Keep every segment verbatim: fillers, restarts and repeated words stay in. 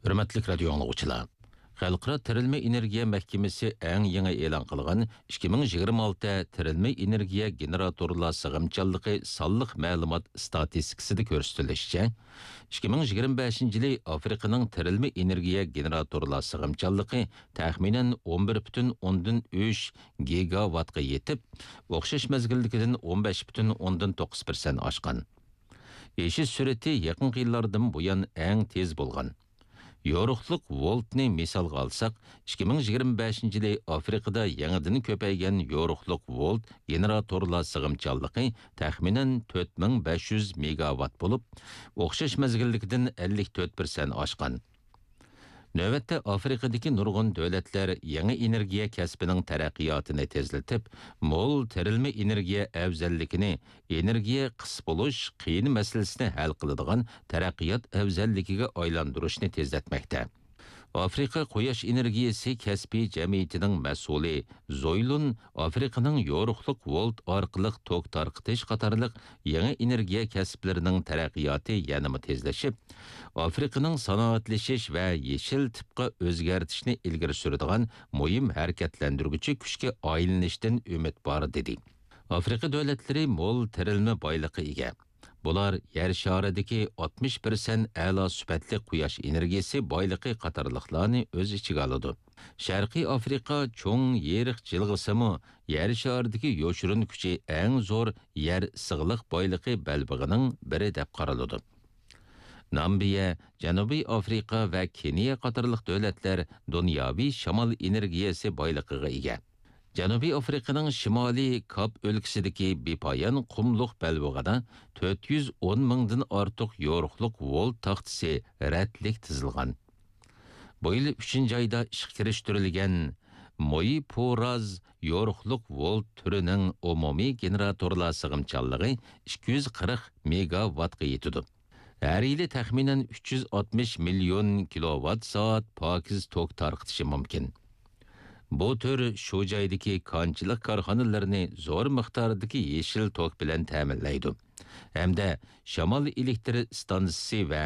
ھۆرمەتلىك رادىيو ئاڭلىغۇچىلار! خەلقئارا تىرىلمە ئېنېرگىيە مەھكىمىسى ئەڭ يېڭى ئېلان قىلغان ئىككى مىڭ يىگىرمە ئالتە تىرىلمە ئېنېرگىيە گېنېراتورلار سىغىمچانلىقى سانلىق مەلۇمات ئىستاتىستىكىسىدا كۆرسىتىلىشىچە، ئىككى مىڭ يىگىرمە بەشىنچى يىلى ئافرىقىنىڭ تىرىلمە ئېنېرگىيە گېنېراتورلار سىغىمچانلىقى تەخمىنەن ئون بىر پۈتۈن ئوندىن ئۈچ گىگاۋاتقا يېتىپ، ئوخشاش مەزگىلدىكىدىن ئون بەش پۈتۈن ئوندىن توققۇز پىرسەنت ئاشقان. ئېشىش سۈرئىتى يېقىنقى يىللاردىن بۇيان ئەڭ تېز بولغان. يورۇقلۇق ۋولتنى مىسالغا ئالساق، ئىككى مىڭ يىگىرمە بەشىنچى يىلى ئافرىقىدا يېڭىدىن كۆپەيگەن يورۇقلۇق ۋولت گېنېراتورلار سىغىمچانلىقى تەخمىنەن تۆت مىڭ بەش يۈز مېگاۋات بولۇپ، ئوخشاش مەزگىلدىكىدىن ئەللىك تۆت پىرسەنت ئاشقان. نۆۋەتتە ئافرىقىدىكى نۇرغۇن دۆلەتلەر يېڭى ئېنېرگىيە كەسپىنىڭ تەرەققىياتىنى تېزلىتىپ، مول تىرىلمە ئېنېرگىيە ئەۋزەللىكىنى ئېنېرگىيە قىس بولۇش قىيىن مەسىلىسىنى ھەل قىلىدىغان تەرەققىيات ئەۋزەللىكىگە ئايلاندۇرۇشنى تېزلەتمەكتە. ئافرىقا قۇياش ئېنېرگىيەسى كەسپىي جەمئىيىتىنىڭ مەسئۇلى زويلۇن ئافرىقىنىڭ يورۇقلۇق ۋولت ئارقىلىق توك تارقىتىش قاتارلىق يېڭى ئېنېرگىيە كەسىپلىرىنىڭ تەرەققىياتى يەنىمۇ تېزلىشىپ، ئافرىقىنىڭ سانائەتلىشىش ۋە يېشىل تىپقا ئۆزگەرتىشنى ئىلگىرى سۈرىدىغان مۇھىم ھەرىكەتلەندۈرگۈچى كۈچكە ئايلىنىشتىن ئۈمىد بار، دېدى. ئافرىقا دۆلەتلىرى مول تىرىلمە بايلىقى ئىگە. بۇلار يەر شارىدىكى ئاتمىش پىرسەنت ئەلا سۈپەتلىك قۇياش ئېنېرگىيەسى بايلىقى قاتارلىقلارنى ئۆز ئىچىگە ئالىدۇ. شەرقىي ئافرىقا چوڭ يېرىق جىلغىسىمۇ يەر شارىدىكى يوشۇرۇن كۈچى ئەڭ زور يەر ئىسسىقلىق بايلىقى بەلبېغىنىڭ بىرى دەپ قارىلىدۇ. نامىبىيە، جەنۇبىي ئافرىقا ۋە كېنىيە قاتارلىق دۆلەتلەر دۇنياۋى شامال ئېنېرگىيەسى بايلىقىغا ئىگە. جەنۇبىي ئافرىقىنىڭ شىمالىي كاپ ئۆلكىسىدىكى بىپايان قۇملۇق بەلبېغىدا تۆت يۈز ئون مىڭدىن ئارتۇق يورۇقلۇق ۋولت تاختىسى رەتلىك تىزىلغان. بۇ يىل ئۈچىنچى ئايدا ئىشقا كىرىشتۈرۈلگەن مويپۇراز يورۇقلۇق ۋولت تۈرىنىڭ ئومۇمىي گېنېراتورلار سىغىمچانلىقى ئىككى يۈز قىرىق مېگاۋاتقا يېتىدۇ. ھەر يىلى تەخمىنەن ئۈچ يۈز ئاتمىش مىليون كىلوۋات سائەت پاكىز توك تارقىتىشى مۇمكىن. بۇ تۈر شۇ جايدىكى كانچىلىق كارخانىلىرىنى زور مىقداردىكى يېشىل توك بىلەن تەمىنلەيدۇ ھەمدە شامال ئېلېكتر ئىستانسىسى ۋە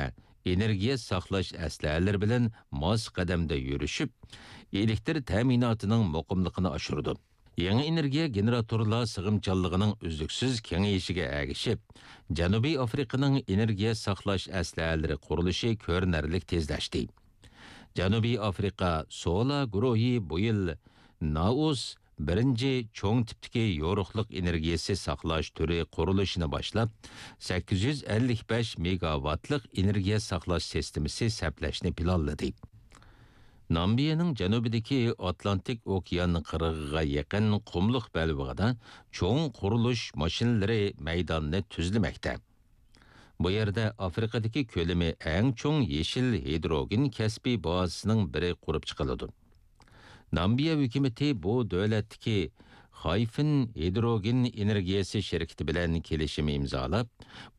ئېنېرگىيە ساقلاش ئەسلىھەلىرى بىلەن ماس قەدەمدە يۈرۈشۈپ، ئېلېكتر تەمىناتىنىڭ مۇقىملىقىنى ئاشۇرىدۇ. يېڭى ئېنېرگىيە گېنېراتورلار سىغىمچانلىقىنىڭ ئۈزلۈكسىز كېڭىيىشىگە ئەگىشىپ، جەنۇبىي ئافرىقىنىڭ ئېنېرگىيە ساقلاش ئەسلىھەلىرى قۇرۇلۇشى كۆرۈنەرلىك تېزلەشتى. جەنۇبىي ئافرىقا سولا گۇرۇھى بۇ يىل نائۇس بىرىنچى چوڭ تىپتىكى يورۇقلۇق ئېنېرگىيەسى ساقلاش تۈرى قۇرۇلۇشىنى باشلاپ، سەككىز يۈز ئەللىك بەش مېگاۋاتلىق ئېنېرگىيە ساقلاش سىستېمىسى سەپلەشنى پىلانلىدى. نامىبىيەنىڭ جەنۇبىدىكى ئاتلانتىك ئوكيان قىرغىقىغا يېقىن قۇملۇق بەلبېغىدا چوڭ قۇرۇلۇش ماشىنىلىرى مەيداننى تۈزلىمەكتە. بۇ يەردە ئافرىقىدىكى كۆلىمى ئەڭ چوڭ يېشىل ھىدروگېن كەسپىي بازىسىنىڭ بىرى قۇرۇپ چىقىلىدۇ. نامىبىيە ھۆكۈمىتى بۇ دۆلەتتىكى خايفېن ھىدروگېن ئېنېرگىيەسى شىركىتى بىلەن كېلىشىم ئىمزالاپ،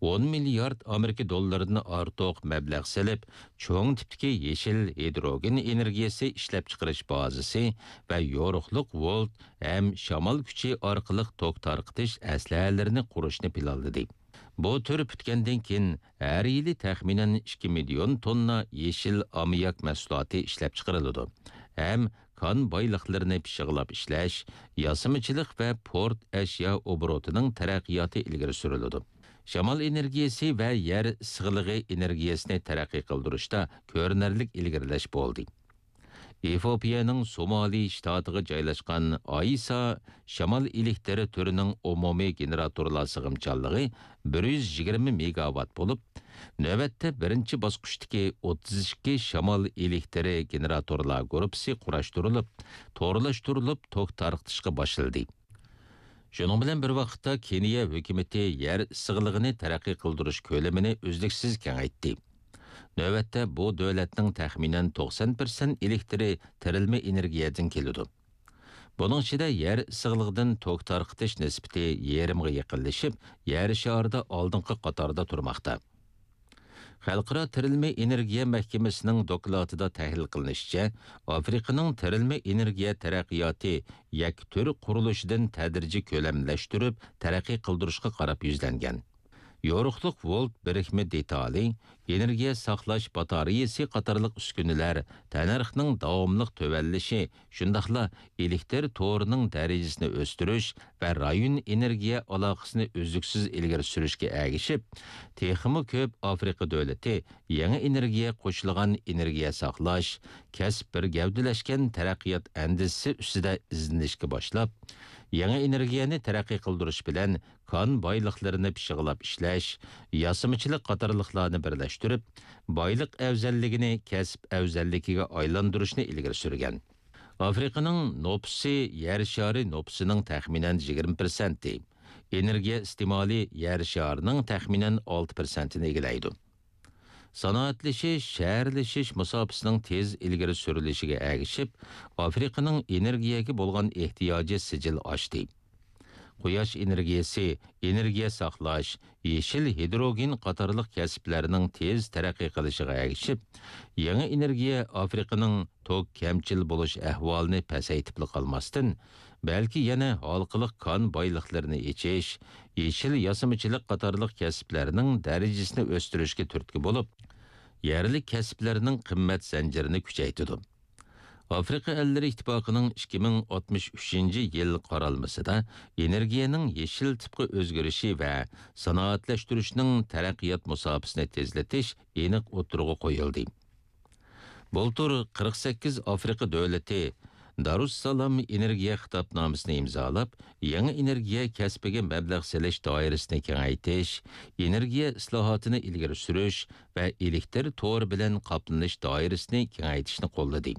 ئون مىليارد ئامېرىكا دوللىرىدىن ئارتۇق مەبلەغ سېلىپ، چوڭ تىپتىكى يېشىل ھىدروگېن ئېنېرگىيەسى ئىشلەپچىقىرىش بازىسى ۋە يورۇقلۇق ۋولت ھەم شامال كۈچى ئارقىلىق توك تارقىتىش ئەسلىھەلىرىنى قۇرۇشنى پىلانلىدى. بۇ تۈر پۈتكەندىن كېيىن، ھەر يىلى تەخمىنەن ئىككى مىليون توننا يېشىل ئاممىياك مەھسۇلاتى ئىشلەپچىقىرىلىدۇ ھەم كان بايلىقلىرىنى پىششىقلاپ ئىشلەش، ياسىمىچىلىق ۋە پورت ئەشيا ئوبوروتىنىڭ تەرەققىياتى ئىلگىرى سۈرۈلىدۇ. شامال ئېنېرگىيەسى ۋە يەر ئىسسىقلىقى ئېنېرگىيەسىنى تەرەققىي قىلدۇرۇشتا كۆرۈنەرلىك ئىلگىرىلەش بولدى. ئېفىئوپىيەنىڭ سومالى شتاتىغا جايلاشقان ئايسا شامال ئېلېكتىر تۈرىنىڭ ئومۇمىي گېنېراتورلار سىغىمچانلىقى بىر يۈز يىگىرمە مېگاۋات بولۇپ، نۆۋەتتە بىرىنچى باسقۇچتىكى ئوتتۇز ئىككى شامال ئېلېكتىرى گېنېراتورلار گۇرۇپپىسى قۇراشتۇرۇلۇپ، تورلاشتۇرۇلۇپ توك تارقىتىشقا باشلىدى. شۇنىڭ بىلەن بىر ۋاقىتتا، كېنىيە ھۆكۈمىتى يەر ئىسسىقلىقىنى تەرەققىي قىلدۇرۇش كۆلىمىنى ئۈزلۈكسىز كېڭەيتتى. نۆۋەتتە بۇ دۆلەتنىڭ تەخمىنەن توقسان پىرسەنت ئېلېكتىرى تىرىلمە ئېنېرگىيەدىن كېلىدۇ. بۇنىڭ ئىچىدە يەر ئىسسىقلىقىدىن توك تارقىتىش نىسبىتى يېرىمغا يېقىنلىشىپ، يەر شارىدا ئالدىنقى قاتاردا تۇرماقتا. خەلقئارا تىرىلمە ئېنېرگىيە مەھكىمىسىنىڭ دوكلاتىدا تەھلىل قىلىنىشىچە، ئافرىقىنىڭ تىرىلمە ئېنېرگىيە تەرەققىياتى يەككە تۈر قۇرۇلۇشىدىن تەدرىجىي كۆلەملەشتۈرۈپ تەرەققىي قىلدۇرۇشقا قاراپ يۈزلەنگەن. يورۇقلۇق ۋولت بىرىكمە دېتالى ئېنېرگىيە ساقلاش باتارېيىسى قاتارلىق ئۈسكۈنىلەر تەننەرخنىڭ داۋاملىق تۆۋەنلىشى، شۇنداقلا ئېلېكتىر تورىنىڭ دەرىجىسىنى ئۆستۈرۈش ۋە رايون ئېنېرگىيە ئالاقىسىنى ئۈزلۈكسىز ئىلگىرى سۈرۈشكە ئەگىشىپ، تېخىمۇ كۆپ ئافرىقا دۆلىتى يېڭى ئېنېرگىيە قوشۇلغان ئېنېرگىيە ساقلاش، كەسىپ بىر گەۋدىلەشكەن تەرەققىيات ئەندىزىسى ئۈستىدە ئىزدىنىشكە باشلاپ، يېڭى ئېنېرگىيەنى تەرەققىي قىلدۇرۇش بىلەن كان بايلىقلىرىنى پىششىقلاپ ئىشلەش، ياسىمىچىلىق قاتارلىقلارنى بىرلەشتۈرۈپ، بايلىق ئەۋزەللىكىنى كەسىپ ئەۋزەللىكىگە ئايلاندۇرۇشنى ئىلگىرى سۈرگەن. ئافرىقىنىڭ نوپۇسى يەر شارى نوپۇسىنىڭ تەخمىنەن يىگىرمە پىرسەنتى، ئېنېرگىيە ئىستېمالى يەر شارىنىڭ تەخمىنەن ئالتە پىرسەنتىنى ئىگىلەيدۇ. سانائەتلىشىش، شەھەرلىشىش مۇساپىسىنىڭ تېز ئىلگىرى سۈرۈلۈشىگە ئەگىشىپ، ئافرىقىنىڭ ئېنېرگىيەگە بولغان ئېھتىياجى سىجىل ئاشتى. قۇياش ئېنېرگىيەسى، ئېنېرگىيە ساقلاش، يېشىل ھىدروگېن قاتارلىق كەسىپلەرنىڭ تېز تەرەققىي قىلىشىغا ئەگىشىپ، يېڭى ئېنېرگىيە ئافرىقىنىڭ توك كەمچىل بولۇش ئەھۋالىنى پەسەيتىپلا قالماستىن، بەلكى يەنە ھالقىلىق كان بايلىقلىرىنى ئېچىش، يېشىل ياسىمىچىلىق قاتارلىق كەسىپلەرنىڭ دەرىجىسىنى ئۆستۈرۈشكە تۈرتكە بولۇپ، يەرلىك كەسىپلەرنىڭ قىممەت زەنجىرىنى كۈچەيتىدۇ. ئافرىقا ئەللىرى ئىتتىپاقىنىڭ ئىككى مىڭ ئاتمىش ئۈچىنچى يىل قارالمىسىدا ئېنېرگىيەنىڭ يېشىل تىپقا ئۆزگىرىشى ۋە سانائەتلەشتۈرۈشنىڭ تەرەققىيات مۇساپىسىنى تېزلىتىش ئېنىق ئوتتۇرىغا قويۇلدى. بۇلتۇر قىرىق سەككىز ئافرىقا دۆلىتى دارۇسسالام ئېنېرگىيە خىتابنامىسىنى ئىمزالاپ، يېڭى ئېنېرگىيە كەسپىگە مەبلەغ سېلىش دائىرىسىنى كېڭەيتىش، ئېنېرگىيە ئىسلاھاتىنى ئىلگىرى سۈرۈش ۋە ئېلېكتىر تورى بىلەن قاپلىنىش دائىرىسىنى كېڭەيتىشنى قوللىدى.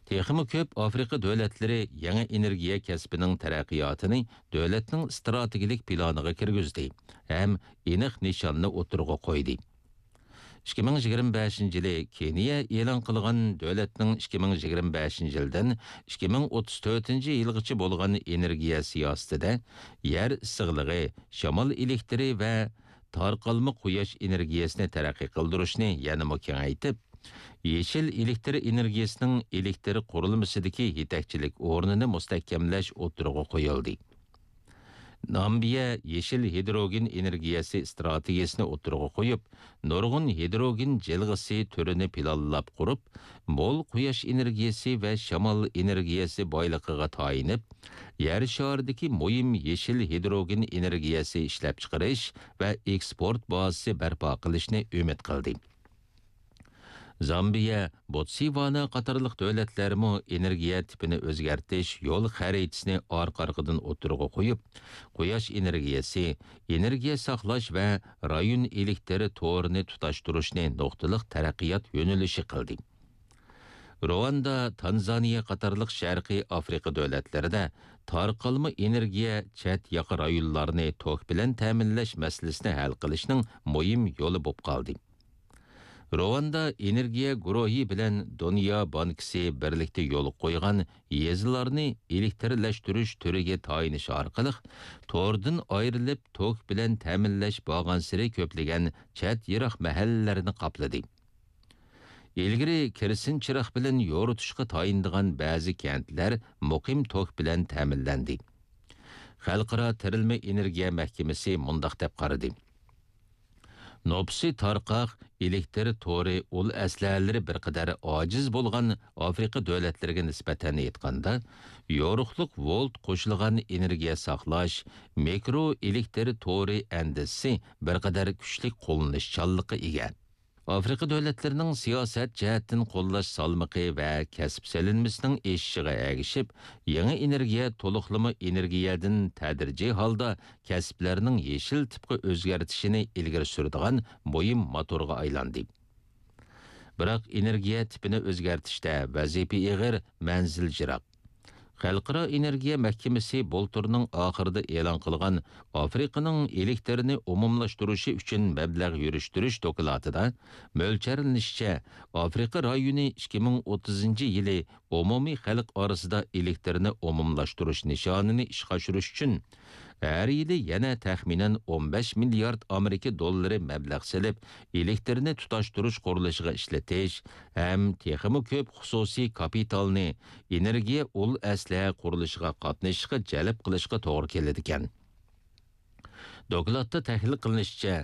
تېخىمۇ كۆپ ئافرىقا دۆلەتلىرى يېڭى ئېنېرگىيە كەسپىنىڭ تەرەققىياتىنى دۆلەتنىڭ ئىستراتېگىيەلىك پىلانىغا كىرگۈزدى ھەم ئېنىق نىشاننى ئوتتۇرىغا قويدى. ئىككى مىڭ يىگىرمە بەشىنچى يىلى كېنىيە ئېلان قىلغان دۆلەتنىڭ ئىككى مىڭ يىگىرمە بەشىنچى يىلدىن ئىككى مىڭ ئوتتۇز تۆتىنچى يىلغىچە بولغان ئېنېرگىيە سىياسىتىدە يەر ئىسسىقلىقى، شامال ئېلېكتىرى ۋە تارقالما قۇياش ئېنېرگىيەسىنى تەرەققىي قىلدۇرۇشنى يەنىمۇ كېڭەيتىپ، يېشىل ئېلېكتىر ئېنېرگىيەسىنىڭ ئېلېكتىر قۇرۇلمىسىدىكى يېتەكچىلىك ئورنىنى مۇستەھكەملەش ئوتتۇرىغا قويۇلدى. نامىبىيە يېشىل ھىدروگېن ئېنېرگىيەسى ئىستراتېگىيەسىنى ئوتتۇرىغا قويۇپ، نۇرغۇن ھىدروگېن جىلغىسى تۈرىنى پىلانلاپ قۇرۇپ، مول قۇياش ئېنېرگىيەسى ۋە شامال ئېنېرگىيەسى بايلىقىغا تايىنىپ، يەر شارىدىكى مۇھىم يېشىل ھىدروگېن ئېنېرگىيەسى ئىشلەپچىقىرىش ۋە ئېكسپورت بازىسى بەرپا قىلىشنى ئۈمىد قىلدى. زامبىيە، بوتسۋانا قاتارلىق دۆلەتلەرمۇ ئېنېرگىيە تىپىنى ئۆزگەرتىش يول خەرىتىسىنى ئارقا-ئارقىدىن ئوتتۇرىغا قويۇپ، قۇياش ئېنېرگىيەسى، ئېنېرگىيە ساقلاش ۋە رايون ئېلېكتىر تورىنى تۇتاشتۇرۇشنى نۇقتىلىق تەرەققىيات يۆنىلىشى قىلدى. رۇۋاندا، تانزانىيە قاتارلىق شەرقىي ئافرىقا دۆلەتلىرىدە تارقالما ئېنېرگىيە چەت ياقا رايونلارنى توك بىلەن تەمىنلەش مەسىلىسىنى ھەل قىلىشنىڭ مۇھىم يولى بولۇپ قالدى. رۇۋاندا ئېنېرگىيە گۇرۇھى بىلەن دۇنيا بانكىسى بىرلىكتە يولغا قويغان يېزىلارنى ئېلېكتىرلەشتۈرۈش تۈرىگە تايىنىش ئارقىلىق، توردىن ئايرىلىپ توك بىلەن تەمىنلەش بارغانسېرى كۆپلىگەن چەت يىراق مەھەللىلەرنى قاپلىدى. ئىلگىرى كېرسىن چىراغ بىلەن يورۇتۇشقا تايىنىدىغان بەزى كەنتلەر مۇقىم توك بىلەن تەمىنلەندى. خەلقئارا تېرىلمە ئېنېرگىيە مەھكىمىسى مۇنداق دەپ قارىدى: نوپۇسى تارقاق، ئېلېكتىر تورى، ئۇل ئەسلىھەلىرى بىر قەدەر ئاجىز بولغان ئافرىقا دۆلەتلىرىگە نىسبەتەن ئېيتقاندا، يورۇقلۇق ۋولت قوشۇلغان ئېنېرگىيە ساقلاش، مىكرو ئېلېكتىر تورى ئەندىزىسى بىر قەدەر كۈچلۈك قوللىنىشچانلىققا ئىگە. ئافرىقا دۆلەتلىرىنىڭ سىياسەت جەھەتتىن قوللاش سالمىقى ۋە كەسىپ سېلىنمىسىنىڭ ئېشىشىغا ئەگىشىپ، يېڭى ئېنېرگىيە تولۇقلىما ئېنېرگىيەدىن تەدرىجىي ھالدا كەسىپلەرنىڭ يېشىل تىپقا ئۆزگەرتىشىنى ئىلگىرى سۈرىدىغان مۇھىم موتورغا ئايلاندى. بىراق ئېنېرگىيە تىپىنى ئۆزگەرتىشتە ۋەزىپە ئېغىر، مەنزىل يىراق. خەلقئارا ئېنېرگىيە مەھكىمىسى بۇلتۇرنىڭ ئاخىرىدا ئېلان قىلغان ئافرىقىنىڭ ئېلېكتىرنى ئومۇملاشتۇرۇشى ئۈچۈن مەبلەغ يۈرۈشتۈرۈش دوكلاتىدا مۆلچەرلىنىشىچە، ئافرىقا رايونى ئىككى مىڭ ئوتتۇزىنچى يىلى ئومۇمىي خەلق ئارىسىدا ئېلېكتىرنى ئومۇملاشتۇرۇش نىشانىنى ئىشقا ئاشۇرۇش ئۈچۈن، ھەر يىلى يەنە تەخمىنەن ئون بەش مىليارد ئامېرىكا دوللىرى مەبلەغ سېلىپ، ئېلېكتىرنى تۇتاشتۇرۇش قۇرۇلۇشىغا ئىشلىتىش ھەم تېخىمۇ كۆپ خۇسۇسىي كاپىتالنى ئېنېرگىيە ئۇل ئەسلىھە قۇرۇلۇشىغا قاتنىشىشقا جەلپ قىلىشقا توغرا كېلىدىكەن. دوكلاتتا تەھلىل قىلىنىشىچە،